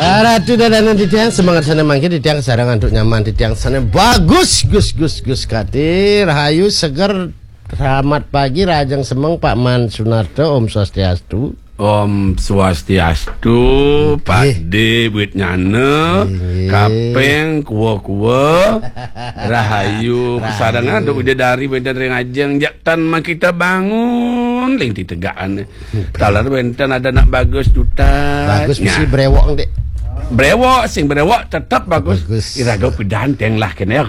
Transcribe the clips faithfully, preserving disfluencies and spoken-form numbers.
Ratu Dadanan titiang, semangat sané mangkin titiang, sareng antuk nyaman titiang sané bagus, gus, gus, gus, kati, rahayu, seger, selamat pagi, rahajeng semeng, Pak Man Sunarto, Om Swastiastu. Om Swastiastu, Pak Dé, buat nyana, kapeng, kuwa-kuwa, rahayu, kasarengan, antuk widadari, wénten ring ajeng, jak tan makita bangun, ling titegakan. Taler wénten ada anak bagus duta. Bagus mesti brewok, Dék. Brewok, sing brewok tetep bagus. Bagus. Iraga pidan teng lah kéné.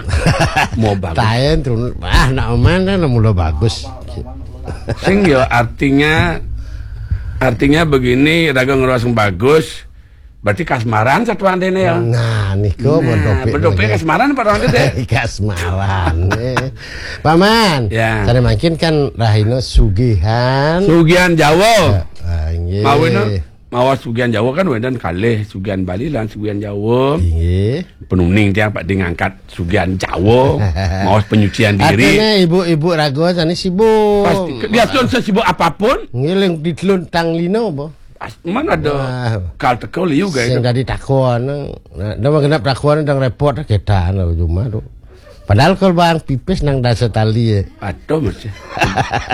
Mau bagus. Taén turun. Ah, nak oman kan mula bagus. Sing ya artinya artinya begini, raga ngerasa bagus. Berarti kasmaran satuan déné ya. Nah, niku nah, bedopik kasmaran apa orang déné? Kasmaran. Eh. Paman, ya. Tadi makin kan rahina sugihan. Sugihan Jawa. Ah, inggih. Mawina mawa sugihan Jawa kan wénten kalih, sugihan Bali lan sugihan Jawa. Inggih. Penuning tiang Pak Dé ngangkat sugihan Jawa, maos penyucian diri. Artinya ibu-ibu raga sané sibuk. Pasti, dia tuh sesibuk apapun. Ngiling di telun tang lino apa? Mana ada kal teko liu gaya. Sing dadi takon. Nah, dah genep takon dang repot kétan cuma tuh. Padahal kalau bang pipis nang dasa tali ya. Aduh, masih.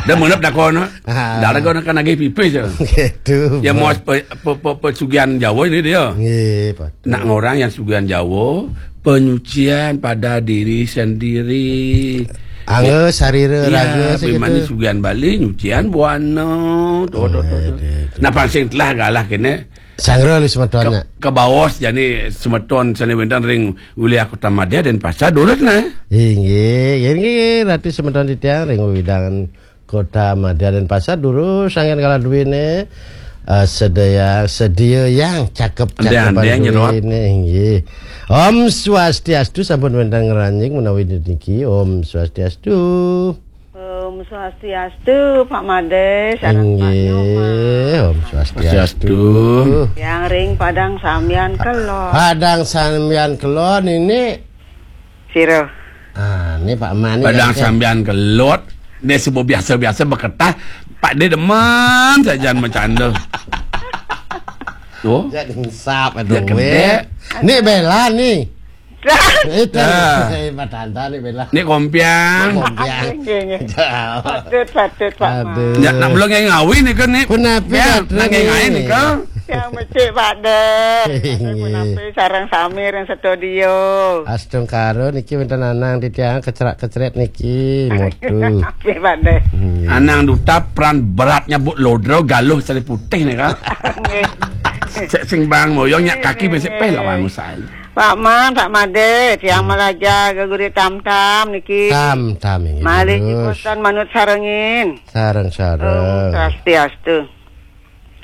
Dah menep takon. Dah ada kan lagi pipis ya. Gitu. Ya mau pe, pe, pe, pesugihan Jawa ini dia. Nggih, Pak. Nak ngorang yang sugihan Jawa, penyucian pada diri sendiri. Angga sarira ya, raga segitu. Sugihan Bali, nyucian buana. Tuh, tuh, tuh, tuh. Nah, pansing telah galah kene. Sanggra lu semetonnya. Ke, ke bawah jani semeton sane wénten ring wilayah Kota Madya dan Pasar durus nah. Inggih, inggih, Ratu semeton titiang ring wewidangan Kota Madya dan Pasar durus sanggen kala duwene. Eh, sedaya sedia yang cakep cakep duwene inggih. Om Swastiastu sampun wénten ngranjing menawi niki. Om Swastiastu. Om Swastiastu, Pak Made, sareng Pak Nyoman. Inggih, Om Swastiastu. Yang ring Padang Sambian Kelon. Padang Sambian Kelon ini. Sira. Ah, ini Pak Mani. Padang Sambian Kelon. Dia sebut biasa-biasa beketah. Pak dia demen saja bercanda. Tuh. Jadi insap aduh. Ini bela nih. Itu. Nah. Eh, Pak Tanta nih bela. Ini kompiang. Kompiang. Nggih, nggih. Patut, patut, Pak. Aduh. Ya, nak belum ngai ngawi nih kan nih. Punapi ya, nak ngai ngawi nih kan. Yang mesti Pak De. Punapi sareng sami ring studio. Astungkara niki wénten anang titiang kecrak-kecret niki. Mutu. Nggih, Pak De. Anang duta peran beratnya Bu Lodro galuh sari putih nih kan. Nggih. Sing bang moyong nyak kaki besik peh lawan usai. Pak Man, Pak Made, tiang malaja geguri tam-tam niki. Tam-tam inggih. Malih niki boten manut sarengin. Sareng-sareng. Swastiastu.